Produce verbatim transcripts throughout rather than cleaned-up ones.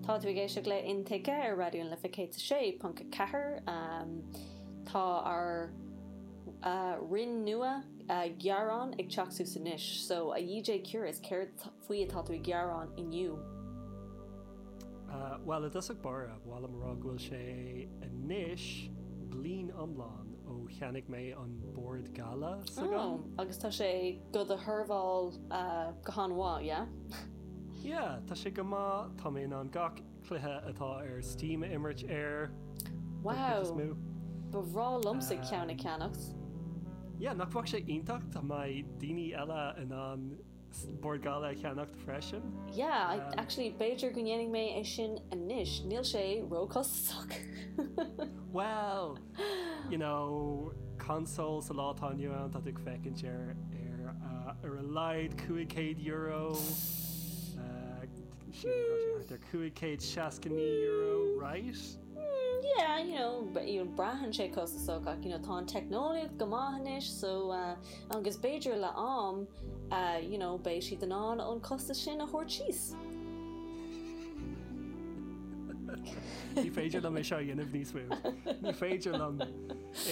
Tá tú ag éisteacht le Intuigthe ar Raidió na Life céad sé ponc ceathair Tá ár uh, roinn nua uh, gearán ag teacht suas anois, so a DJ Curious céard faoi atá tú ag gearán inniu. Uh, well i dtosach báire ba mhaith liom rá go bhfuil sé anois bliain iomlán ó cheannaigh mé an Bord Gala oh, agus tá sé go do sheirbheáil uh, go han-mhaith, yeah? Yeah, tá sé go maith tá mé in ann gach cluiche atá ar Steam a imirt air. Wow. Ba bhreá liomsa ceann a cheannacht. Yeah, nach bhfuil sé iontach tá mé daoine eile in ann Bord Gala a cheannacht freisin. Yeah, um, actually b'fhéidir go ndéanfaidh mé é sin anois, níl sé róchostasach. Well, you know, console sa lá atá inniu ann tá ag féachaint ar ar uh, ar a laghad cúig chéad euro ar cúig chéad seasca naoi euro, right? Mm, yeah, you know, but you know, braitheann sé costasach ach you know, tá an teicneolaíocht go maith anois so uh, agus b'fhéidir le am uh, you know, beidh siad in ann an costas sin a thabhairt síos. Ní féidir liom é seo a dhéanamh níos mó. Ní féidir liom é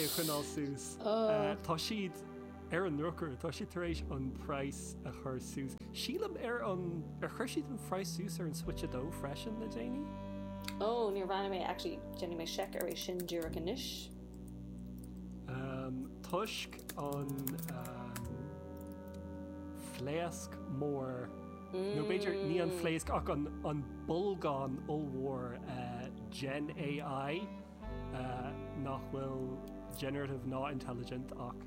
a choinneáil suas. Uh, tá siad ar an ndrochuair, tá siad tar éis an praghas a chur suas. Sílim ar an ar chuir siad an praghas suas ar an Switch a dó freisin le déanaí? Oh, níor bhreathnaigh mé actually déanfaidh mé seic ar é sin díreach anois. Um, toisc an um, phléasc mór nó b'fhéidir ní an phléasc ach an, an bolgán ollmhór uh, Gen AI uh, nach bhfuil generative ná intelligent ach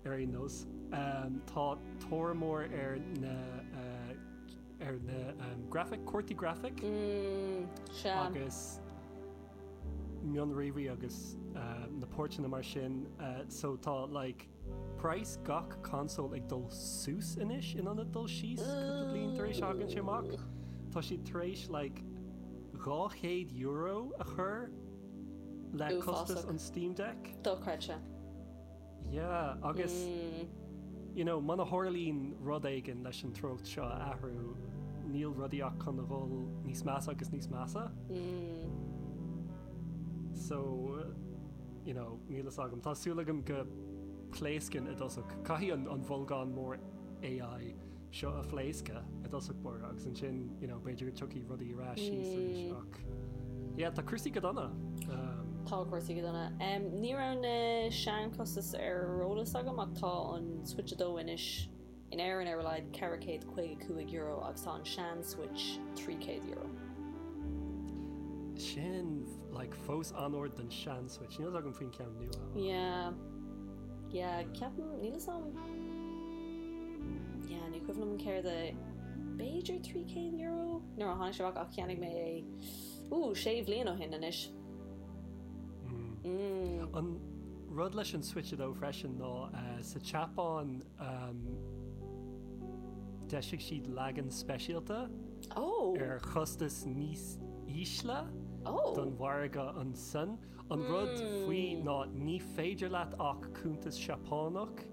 ar aon nós. Um, tá tóir mór ar na uh, ar na um, graphic cártaí graphic Mm, sea. agus mionríomhairí agus uh, na portanna mar sin uh, so tá like price gach console ag dul suas anois in ionad dul síos cúpla bliain tar éis thagann sé amach. Tá siad tar éis like dhá chéad euro a chur le costas Uafásach. an Steam Deck. Dochreidte. Yeah, agus Mm, you know, muna tharlaíonn rud éigin leis an treocht seo a athrú níl rudaí ach chun a dhul níos measa agus níos measa. mm, So, uh, you know, níl a fhios agam. Tá súil agam go bpléascann i dtosach. Caithfidh an, an bholgán mór AI seo a phléascadh i dtosach báire agus ansin, you know, b'fhéidir go dtiocfaidh rudaí ar ais síos arís ach. Yeah, tá cúrsaí go dona. Um, Tá cúrsaí go dona. Um, ní raibh na seanchostais ar eolas agam ach tá an Switch a dó anois in Éirinn ar a laghad ceithre chéad caoga cúig euro agus tá an sean Switch trí chéad euro. sin like, fós an-ard don sean Switch. Níl agam faoin ceann nua. Yeah. Yeah, ceapaim níl am Yeah, ní cuimhin liom céard a b'fhéidir trí chéad euro nuair a tháinig sé ach cheannaigh mé é Ú sé bhliain ó shin anois. Mm. Mm. An rud leis an Switch a dó freisin ná uh, sa tSeapáin um, d'eisigh siad leagan speisialta Oh. ar chostas níos ísle Oh. don mhargadh ansan. An rud faoi ná ní féidir leat ach cuntas Seapánach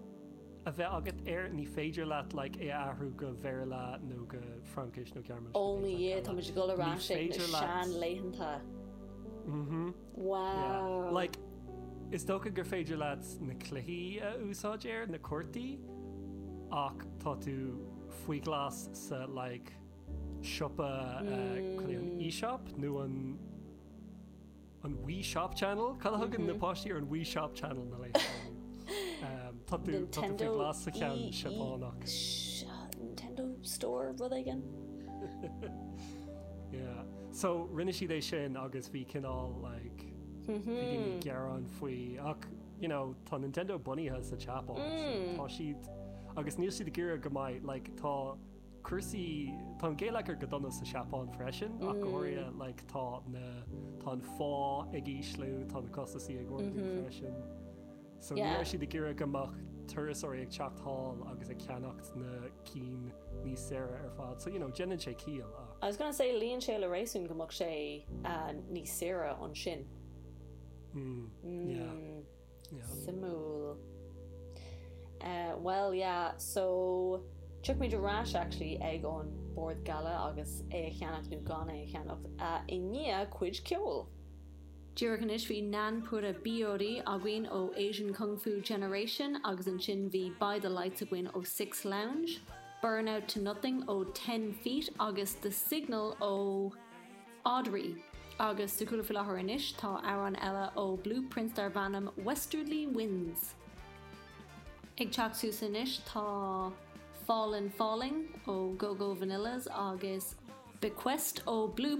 a bheith agat air ní féidir leat like, é a athrú go Béarla nó go Fraincis nó Gearmáinis. Ó mo Dhia tá muid ag dul ar Ní ais ag na féidir leat- seanlaethanta. Mhm. Wow. Yeah. Like, is dócha gur féidir leat na cluichí a úsáid air na cártaí ach tá tú faoi ghlas sa like, siopa uh, cad é an eShop nó an an Wii Shop Channel Cad a thugann na páistí ar an Wii Shop Channel na le um, Tá tú tá tú faoi Nintendo ghlas sa cheann E- E- Seapánach. Sh- Nintendo Store rud éigin? Yeah. So rinne siad é sin agus bhí cineál like bhí daoine ag gearán faoi ach you know, tá Nintendo bunaithe sa tSeapáin so tá siad agus níl siad ag iarraidh go mbeidh like tá cúrsaí tá an geilleagar go dona sa Seapáin freisin ach go háirithe like tá na tá an phá ag ísliú tá na costaisí ag ardú freisin. So ní Yeah. raibh siad ag iarraidh go mbeadh turasóirí ag teacht thall agus ag ceannacht na cinn níos saoire ar fad. So you know, déanann sé ciall ach I was gonna say luíonn sé le réasún go mbeadh sé uh, níos saoire ansin. mm, yeah, Mm, yeah. Suimiúil. Uh, well, yeah, so tiocfaimid ar ais actually ag an bord gala agus é a cheannach nó gan é a cheannach uh, i ndiaidh cuid ceoil. Díreach anois bhí Nanpura Biyori againn ó Asian Kung Fu Generation agus ansin bhí By the Lights againn ó Six Lounge, Burnout to Nothing ó Ten Feet agus The Signal ó Audrey. Agus sa chúlra faoi láthair anois tá amhrán eile ó Blueprints darb ainm Westerly Winds. Ag teacht suas anois tá Fallen Falling ó Go Go Vanillas agus Bequest ó Blue